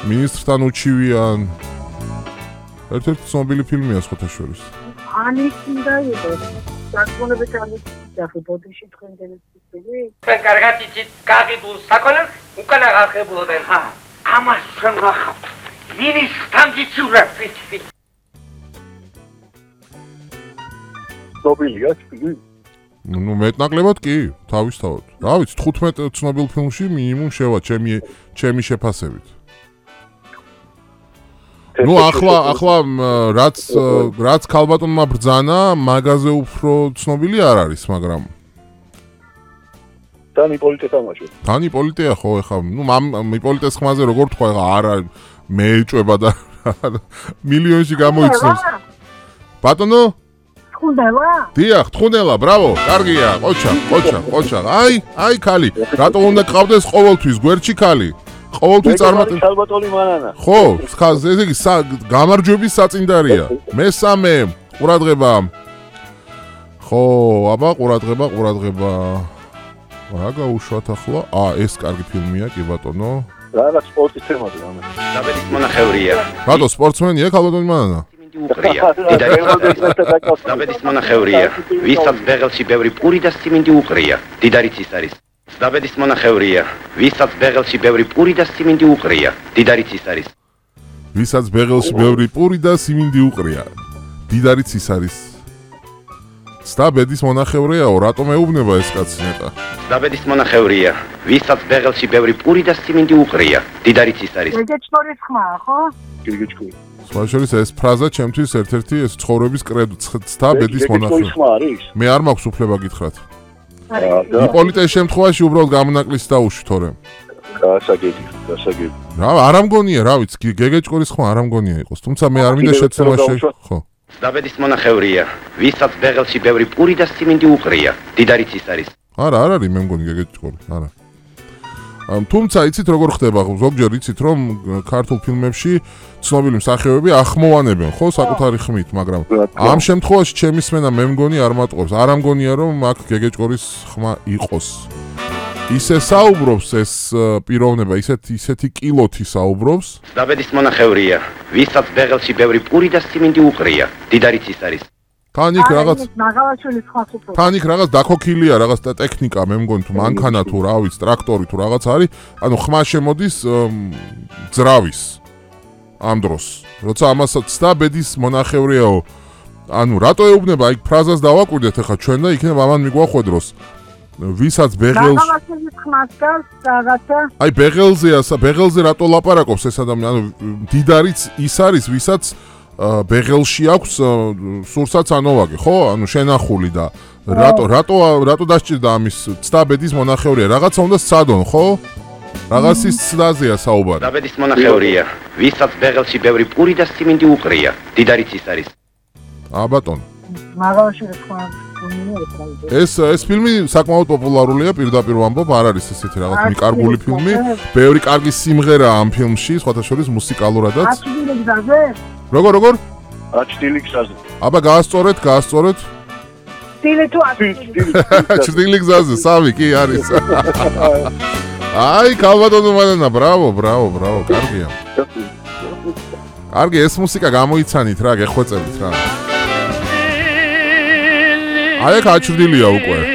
მინისტრთან უჩივიან. ერთ-ერთი ცნობილი ფილმია სხვათა შორის. ანის უნდა იყოს. საკონებით ანის დახი ბოდიში თქვენ დელეცი. თქვენ კარგად იცით, გაგიდულ საკონებს უკან აღახებულობენ. ამას ჩვენ გახავთ. მინისტრთან გიჩურებ ფიცი. ცნობილია ფილმი? ნუ მეტნაკლებად კი, თავისთავად. რა ვიცი, 15 ცნობილ ფილმში მინიმუმ შევა ჩემი შეფასებით. ნუ ახლა რაც ქალბატონმა ბრძანა, მაგაზე უფრო ცნობილი არ არის, მაგრამ თან იპოლიტე თამაშო. თან იპოლიტეა ხო ეხა, ნუ იპოლიტეს ხმაზე როგორ თქვა ეხა არა მეეჭვება და მილიონში გამოიცნობს. ბატონო? თხუნდელა? დიახ, თხუნდელა, ბრავო, კარგია, ყოჩა. აი ქალი, რატო უნდა გყავდეს ყოველთვის გვერდში ქალი? ყოველთვის წარმატებული ქალბატონი მანანა. ხო, ესე იგი გამარჯვების საწინდარია. მესამე, ყურადღება. ხო, აბა ყურადღება. რა გაუშვათ ახლა? ეს კარგი ფილმია, კი ბატონო. რა სპორტის თემაზე ამას. დაბედის მონახევრია. რატო სპორტსმენია ქალბატონი მანანა? უყრია. დაბედის მონახევრია. ვისაც ბეღელში ბევრი პური და სიმინდი უყრია. დიდარიც ის არის. დაბედის მონახევრია. ვისაც ბეღელში ბევრი პური და სიმინდი უყრია. დიდარიც ის არის. ვისაც ბეღელში ბევრი პური და სიმინდი უყრია. დიდარიც ის არის. დაბედის მონახევრიაო, რატომ ეუბნება ეს კაცი ნეტა? დაბედის მონახევრია. ვისაც ბეღელში ბევრი პური და სიმინდი უყრია. დიდარიც ის არის. გეგეჭკორის ხმაა, ხო? გეგეჭკორი. სხვაშორის ეს ფრაზა ჩემთვის ერთ-ერთი ეს ცხოვრების კრედო დაბედის მონახევრია. მე არ მაქვს უფლება გითხრათ. იპოლიტეს შემთხვევაში უბრალოდ გამონაკლისს დაუშვი თორემ. გასაგები. რა, არ ამგონია, რა ვიცი, გეგეჭკორის ხმა არ ამგონია იყოს, თუმცა მე არ მინდა შეცდომა ხო. დაბედის მონახევრია. ვისაც ბეღელში ბევრი პური და სიმინდი უყრია. დიდარიც ის არის. არა, არ არის მე მგონი გეგეჭკორი, არა. თუმცა იცით როგორ ხდება, ზოგჯერ იცით რომ ქართულ ფილმებში ცნობილი მსახიობები ახმოვანებენ, ხო, საკუთარი ხმით, მაგრამ ამ შემთხვევაში ჩემი სმენა მე მგონი არ მატყობს. არ ამგონია რომ აქ გეგეჭკორის ხმა იყოს. ისე საუბრობს ეს პიროვნება, ისეთი კილოთი საუბრობს. დაბედის მონახევრია. ვისაც ბეღელში ბევრი პური და სიმინდი უყრია. დიდარიც ის არის. თან იქ რაღაც რაღაც დაქოქილია, რაღაც ტექნიკა, მე მგონი თუ მანქანა თუ რა ვიცი, ტრაქტორი თუ რაღაც არის, ანუ ხმა შემოდის ძრავის ამ დროს. როცა ამასაც დაბედის მონახევრიაო. ანუ რატო ეუბნება, აი ფრაზას დავაკვირდეთ ახლა ჩვენ და იქნება ამან მიგვახვედროს. ვისაც ბეღელს აი ბეღელზე რატო ლაპარაკობს ეს ადამიანი, ანუ დიდარიც ის არის, ვისაც ბეღელში აქვს სურსაც ანოვაგე, ხო? ანუ შენახული და რატო დასჭირდა ამის ცდაბედის მონახევრია? რაღაცა უნდა სცადონ, ხო? რაღაცის ცდაზეა საუბარი. დაბედის მონახევრია. ვისაც ბეღელში ბევრი პური და სიმინდი უყრია. დიდარიც ის არის. ბატონო. ეს ფილმი საკმაოდ პოპულარულია, პირდაპირ ვამბობ, არ არის ესეთი რაღაც მიკარგული ფილმი. ბევრი კარგი სიმღერაა ამ ფილმში, სხვათა შორის მუსიკალურადაც. როგორ? აჩდილი გზაზე. აბა გაასწორეთ. სტილი თუ ჭრილი გზაზე, სამი კი არის. აი, ქალბატონო მანანა, ბრავო, კარგია. კარგი, ეს მუსიკა გამოიცანით რა, გეხვეწებით რა. აი, აჩრდილია უკვე.